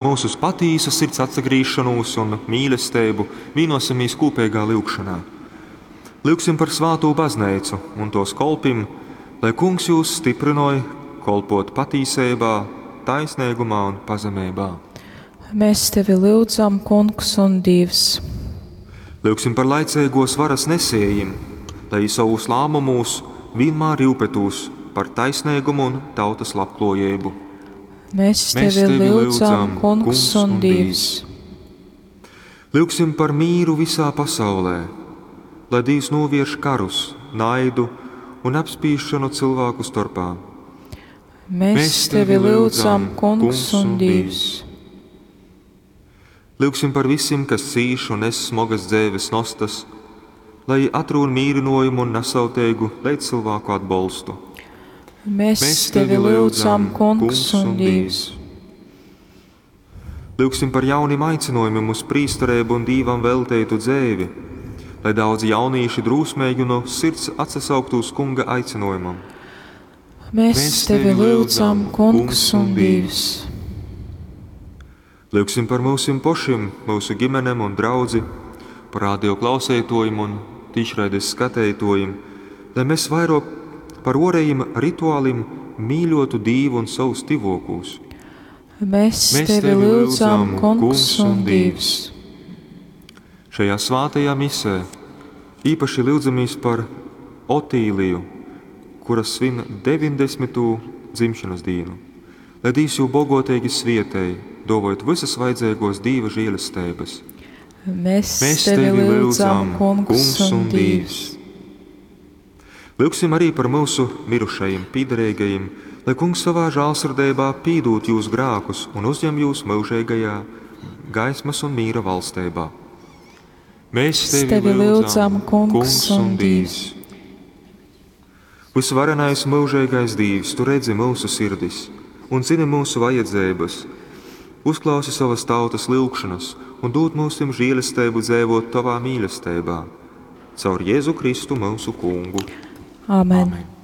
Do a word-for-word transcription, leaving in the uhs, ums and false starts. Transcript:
Mūsu uz patīsu sirds atsagrīšanos un mīlestību, vienosimies kūpīgā lyugšanā. Lyugsim par svātū bazneicu un tos kolpim, lai kungs jūs stiprinoja kolpot patīsībā, taisnīgumā un pazemeibā. Mēs tevi lyudzam, Kungs un Dievs. Lyugsim par laicīgos varas nesējim, lai savus lēmumus vienmēr rūpētos par taisnīgumu un tautas labklājību. Mēs tevi, Mēs tevi lyudzam, Kungs un Dievs. Lyugsim par mīru visā pasaulē, lai Dievs novērš karus, naidu un apspīšanu cilvēku starpā. Mēs, Mēs tevi lyudzam, Kungs un Dievs. Lyugsim par visiem, kas cīš un nes smagas dzīves nostas, lai atrūn mīrinājumu un nesauteigu līdzcilvēku atbalstu. Mēs, Mēs tevi lyudzam, Kungs un Dievs. Lyugsim par jauniem aicinājumiem uz prīsterību un Dievam veltītu dzīvi, lai daudzi jaunīši drūsmīgi no sirds atsasauktu uz Kunga aicinājumam. Mēs, Mēs tevi lyudzam, Kungs un Dievs. Lyugsim par mūsim pošim, mūsu ģimenēm un draudzi, par radio klausētojiem un tīšraides skatētojiem, lai mēs vairāk par orējiem rituālim mīļotu Dievu un savus tivokūs. Mēs, Mēs tevi lyudzam, Kungs un Dievs. Šajā svātajā misē īpaši lūdzamies par Otīliju, kura svin deviņdesmito dzimšanas dienu. Lai Dievs jū bogotīgi svietēj, dovojot visas vajadzīgos Dieva žēlestības. Mēs, Mēs tevi lyudzam, Kungs, Kungs un Dievs. Lūgsim arī par mūsu mirušajiem, pīderīgajiem, lai Kungs savā žēlsirdībā pīdūt jūs grākus un uzņem jūs mūžīgajā gaismas un mīra valstībā. Mēs tevi, tevi lyudzam, Kungs, Kungs un Dievs. Visvarenais mūžīgais Dievs, tu redzi mūsu sirdis un zini mūsu vajadzības. Uzklausi savas tautas lūgšanas un dod mums žēlastību dzīvot tavā mīlestībā. Caur Jēzu Kristu mūsu Kungu. Āmen. Amen.